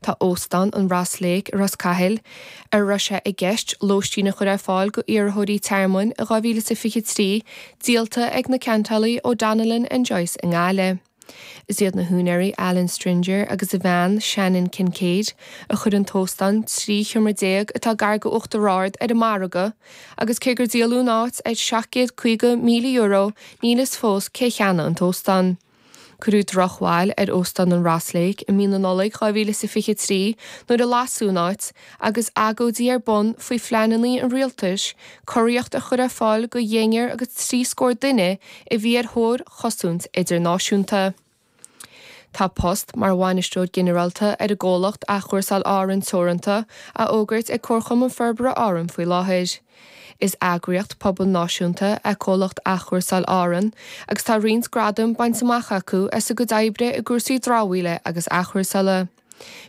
Tá Óstán an Ross Lake i Ros Cathail, ar a raibh sé i gceist lóistín a chur ar fáil go iarrthóirí tearmainn i 2023, díolta ag na ceantálaí O'Donnellan and Joyce i nGaillimh. Is iad na húinéirí Alan Stringer agus a bhean Shannon Kincaid a chuir an t-óstán 13 sheomra atá gar go Uachtar Ard ar an margadh agus cé gur díoladh an áit ar €750,000 níl fhios fós cé cheannaigh an t-óstán. Cuireadh drochbhail ar Óstán an Ross Lake i mí na Nollag 2023 nuair a lasadh an áit agus agóidí ar bun faoi phleananna an rialtais cóiríocht a chur ar fáil go dheichniúr agus trí scór duine a bhí ar thóir chosaint idirnáisiúnta. Tá post mar bhainisteoir ginearálta ar an gcomhlacht Athchúrsáil Árann Teoranta á fhógairt ag Comharchumann Forbartha Árann faoi láthair. Is eagraíocht pobail náisiúnta é Comhlacht Athchúrsáil Árann agus tá roinnt gradam bainte amach acu as a gcuid oibre i gcúrsaí dramhaíola agus athchúrsála.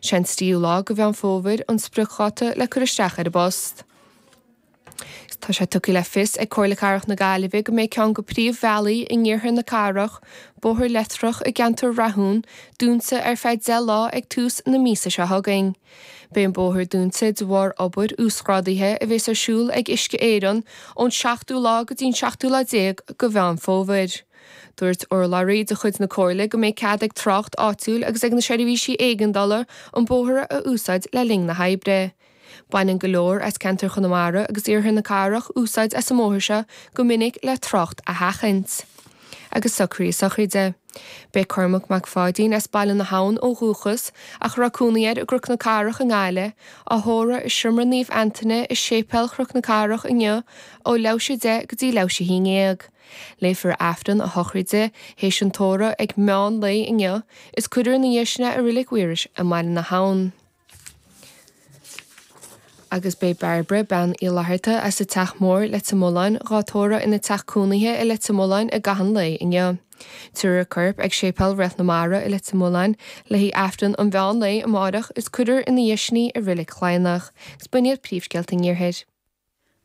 Sé an tríú lá de Mheán Fómhair an spriocdháta le cur isteach ar an bpost. Tá sé tugtha le fios ag Comhairle Cathrach na Gaillimhe go mbeidh ceann de phríomhbhealaí in iarthar na cathrach, Bóthar Leitreach i gceantar Rathún, dúnta ar feadh 10 lá ag tús na míosa seo chugainn. Beidh an bóthar dúnta de bharr obair uasghrádaithe a bhéas ar siúl ag Uisce Éireann ón seachtú lá go dtí an seachtú lá déag de Mheán Fómhair. Dúirt urlabhraí de chuid na Comhairle go mbeidh cead ag trácht áitiúil agus ag na seirbhísí éigeandála an bóthar a úsáid le linn na hoibre. Baineann go leor as ceantar Chonamara agus iarthar na cathrach úsáid as an mbóthar seo go minic le trácht a sheachaint. Agus socruithe sochraide. Beidh Cormac Mac Pháidín as Baile na hAbhann ó dhúchas, ach a raibh cónaí air i gCnoc na Cathrach i nGaillimh, á thórramh i Seomra Naomh Antaine i Séipéal Chnoc na Cathrach inniu ó leathuair théis 10 go dtí leathuair théis 11. Léifear Aifreann a shochraide théis an tórraimh ag meán lae inniu is cuirfear ina dhiaidh sin é i Reilig Mhaorais i mBaile na hAbhann. Agus beidh Bairbre, Bean Uí Fhlatharta as an Teach Mór, Leitir Mealláin, dhá tórramh ina teach cónaithe i Leitir Mealláin i gcaitheamh an lae inniu. Tabharfar a corp ag Séipéal Réalt na Mara i Leitir Mealláin le haghaidh Aifreann an mheán lae amárach is cuirfear ina dhiaidh sin í i Reilig Chladhnach. Agus b'in iad príomhscéalta an Iarthair.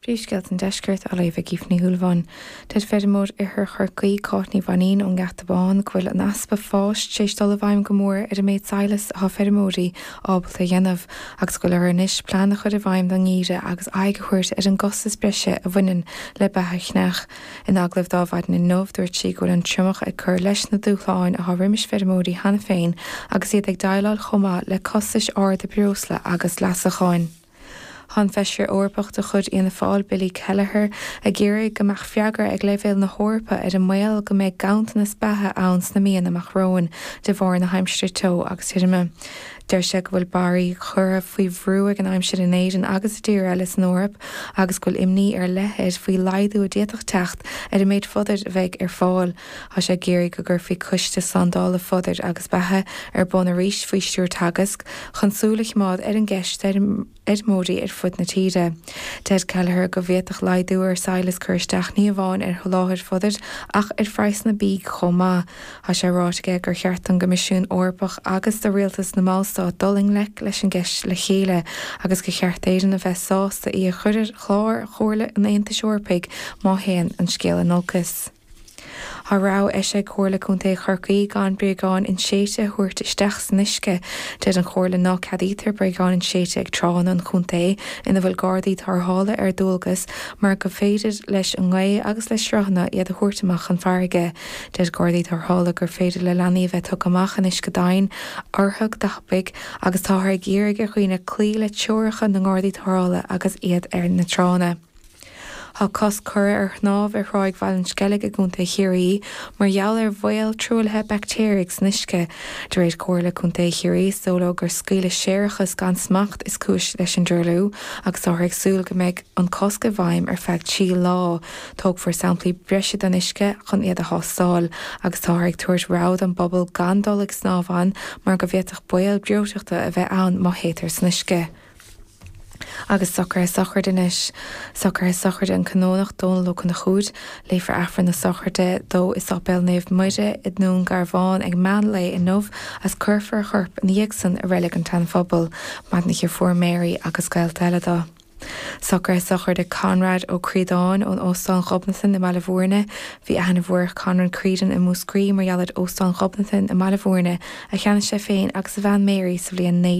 Príomhscéalta an Deiscirt á léamh ag Aoife Ní Shúilleabháin. Deir feirmeoir Oirthear Chorcaí, Cáit Ní Mhainín ón nGeata Bán go bhfuil an easpa fáis tar éis dul i bhfeidhm go mór ar an méid sadhlais atá feirmeoirí ábalta a dhéanamh agus go bhfuil orthu anois plean a chur i bhfeidhm don ngeimhreadh agus aghaidh a thabhairt ar an gcostas breise a bhaineann le beatha chneach. In agallamh do Adhmhaidin inniu, dúirt sí go bhfuil an triomach ag cur leis na dúshláin atá roimis feirmeoirí cheana féin agus iad ag déileáil chomh maith le costais arda breosla agus leasacháin. Tá an Feisire Eorpach de chuid Fhianna Fáil, Billy Kelleher, ag iarraidh go mbeadh freagra ag leibhéal na hEorpa ar an mbaol go mbeidh ganntanas beatha ann sna míonna amach romhainn de bharr na haimsire teo agus tirime. Deir sé go bhfuil barraí curtha faoi bhrú ag an aimsir in Éirinn agus i dtíortha eile san Eoraip agus go bhfuil imní ar leith air faoi laghdú a d'fhéadfadh teacht ar an méid fodair a bheidh ar fáil. Tá sé ag iarraidh go gcuirfí coiste slándála fodair agus beatha ar bun arís faoi stiúir Teagasc chun súil a choimeád ar an gceist d'fheirmeoirí ar fud na tíre. Deir Kelleher go bhféadfadh laghdú ar sadhlas cur isteach ní amháin ar sholáthar fodair ach ar phraghsanna bídh chomh maith. Tá sé ráite aige gur cheart don gCoimisiún Eorpach agus do rialtais na mballstát dul i ngleic leis an gceist le chéile agus gur cheart d'Éirinn a bheith sásta í a chur ar chlár Chomhairle an Aontais Eorpaigh má théann an scéal in olcas. Tá rabhadh eisithe ag Comhairle Contae Chorcaí gan bréagáin inséidte a thabhairt isteach san uisce. Deir an Chomhairle ná ceadaítear bréagáin inséidte ag tránna an chontae ina bhfuil gardaí tarrthála ar dualgas mar go féidir leis an ngaoth agus le sruthanna iad a thabhairt amach chun farraige. Deir gardaí tarrthála gur féidir le leanaí a bheith tugtha amach in uisce domhain orthu go tapaidh agus táthar ag iarraidh ar dhaoine cloí le treoracha na ngardaí tarrthála agus iad ar na tránna. Tá cosc curtha ar shnámh ar thráigh Bhaile an Sceilg i gContae Chiarraí mar gheall ar bhaol truaillithe baictéaraigh san uisce. De réir Chomhairle Contae Chiarraí, is dóigh leo gur scaoileadh séarachas gan smacht is cúis leis an dtruailliú agus táthar ag súil go mbeidh an cosc i bhfeidhm ar feadh 3 lá. Tógfar samplaí breise den uisce chun iad a thástáil agus táthar ag tabhairt rabhadh don bpobal gan dul ag snámh ann mar go bhféadfadh baol breoiteachta a bheith ann má théitear san uisce. Agus socruithe sochraide anois. Socruithe sochraide an Canónach Dónal Ó Conchúir. Léifear Aifreann na sochraide dó i Sáipéal Naomh Muire i nDún Garbhán ag meán lae inniu agus cuirfear a chorp ina dhiaidh san i Reilig an tSean-Phobail. Maireann a dheirfiúr Mary agus gaolta eile dó. Socruithe sochraide Conrad Ó Críodáin ón Óstán Ghobnatan i mBaile Bhúirne. Bhí aithne mhór ar Conrad Creedon i Múscraí mar gheall ar Óstán Ghobnatan i mBaile Bhúirne a cheannaigh sé féin agus a bhean Mary sa bhliain 19.